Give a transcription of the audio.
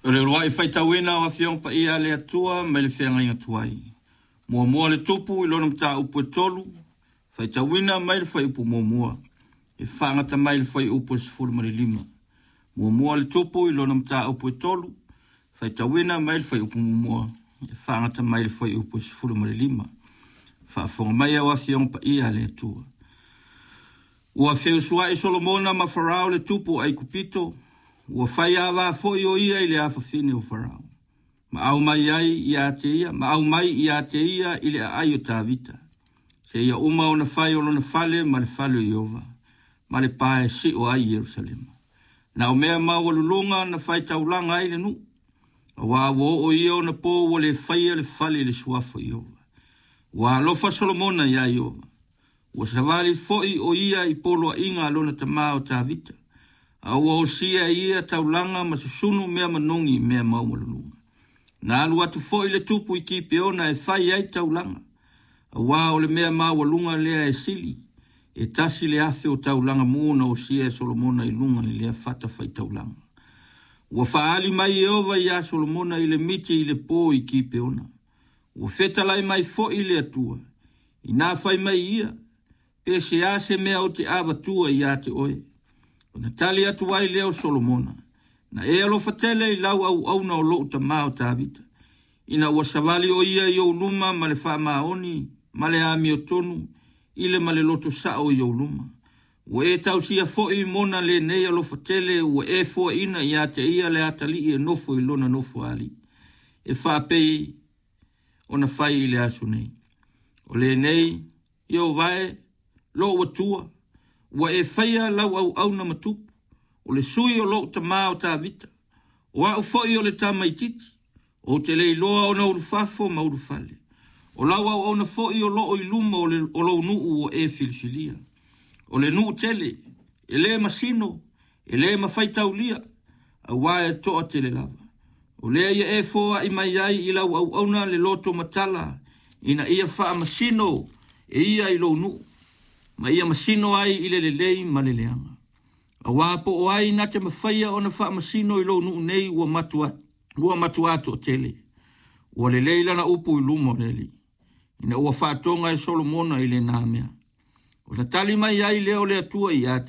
O le uluai faitauina o Afioga Paia a le Atua mai le Feagaiga Tuai. Muamua le Tupu i lona mataupu e 3, faitauina mai le fuaiupu 1, e faagata mai le fuaiupu e 15. Muamua le Tupu i lona mataupu e 3, faitauina mai le fuaiupu 1, e faagata mai le fuaiupu e 15. Faafofoga mai au Afioga Paia a le Atua. Ua feusuai Solomona ma Farao le tupu o Aikupito, ua fai ava foi o ia i le afafine o Farao, ma aumai ai ia te ia, ma aumai ia te ia i le aai o Tavita, seia uma ona fai o lona fale ma le fale o Ieova, ma le pa e sio ai Ierusalema. Na o mea maualuluga na fai taulaga ai le nuu, aua ua oo ia ona po ua le faia le fale i le suafa o Ieova. Ua alofa Solomona iā Ieova, ua savali foi o ia i poloaiga a lona tama o Tavita, a ua osia e ia taulaga ma susunu mea manogi i mea maualuluga. Na alu atu foi le tupu i Kipeona e fai ai taulaga, aua o le mea maualuga lea e sili, e 1,000 o taulaga mu na osia e Solomona i luga i lea fata faitaulaga. Ua faaali mai Ieova iā Solomona i le miti i le po i Kipeona. Ua fetalai mai foi le Atua, inā fai mai ia, pe se a se mea ou te avatua ia te oe. Ona tali atu ai lea o Solomona, na e alofa tele i lau auauna o lou tama o Tavita, ina ua savali o ia i ou luma ma le faamaoni ma le amiotonu i le ma le loto sao i ou luma. Ua e tausia foi mona lenei alofa tele ua e foaina ia te ia le atalii e nofo i lona nofoalii, e faapei ona fai i le aso nei. O lenei, Ieova e, lou Atua, ua e faia lau auauna ma tupu, o le sui o lou tama o Tavita, o au foi o le tamaitiiti, ou te le iloa ona ulufafo ma ulufale. O lau auauna foi o loo i luma o, le, o lou nuu ua e filifilia. O le nuu tele, e le masino, e le mafai taulia, aua e toa tele lava. O lea ia e foai mai ai i lau auauna le loto matala, ina ia faamasino e ia i lou nuu, ma ia masino ai i le lelei ma le leaga. Aua po o ai na te mafaia ona faamasino i lou nuu nei ua matua ua matua toatele. Ua lelei lana upu i luma o le Alii, ina ua faatoga e Solomona i lena mea. Ona tali mai ai lea o le Atua ia